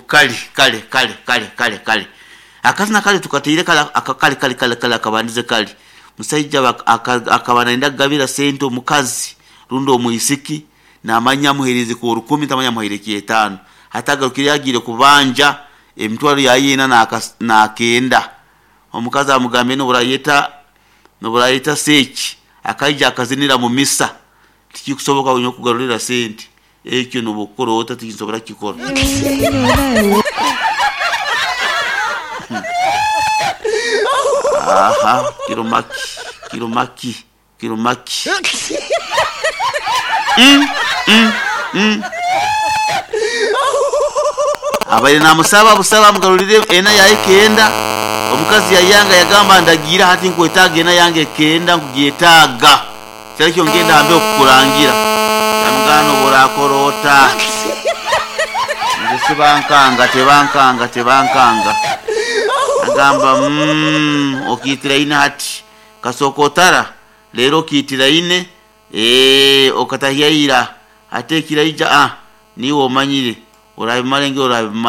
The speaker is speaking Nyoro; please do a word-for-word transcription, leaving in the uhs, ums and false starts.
Kale kale kale kale kale kale akazina kale tukateire kale aka- kale kale kale kale akabandize kale musaija bak- aka- akaba nayenda kugabira sente omukazi rundi omwisiki, namanya amuheereze ko rukumi, tamanya amuhaire kyetaano. Hati agarukire agiire kubanja emitwaro yayeena nakas- nakenda, omukazi amugambire noburayeta noburayeta seeki akaija akazinira mu misa, tikikusoboka nyowe kugarurira sente ekyo, nobwokukora ota tinsobora kukikora. Aha, kiromaki kiromaki kiromaki mm, mm, mm. Abaire namusaba busaba amugarurire ena yaye kenda, omukazi yayanga, yagamba ndagiira hati nkwetaaga ena yange kenda, nkugyetaaga kyarikyo ngenda hambe okukurangira. Yamugamba noburakora ota nze sibankanga, tebankanga tebankanga. Agamba mm, okiitira ine hati kasooka otara leero okiitira ine, ee, okatahyaira hati ekiraija, ah, niiwe omanyire orabimara engeri orabimara.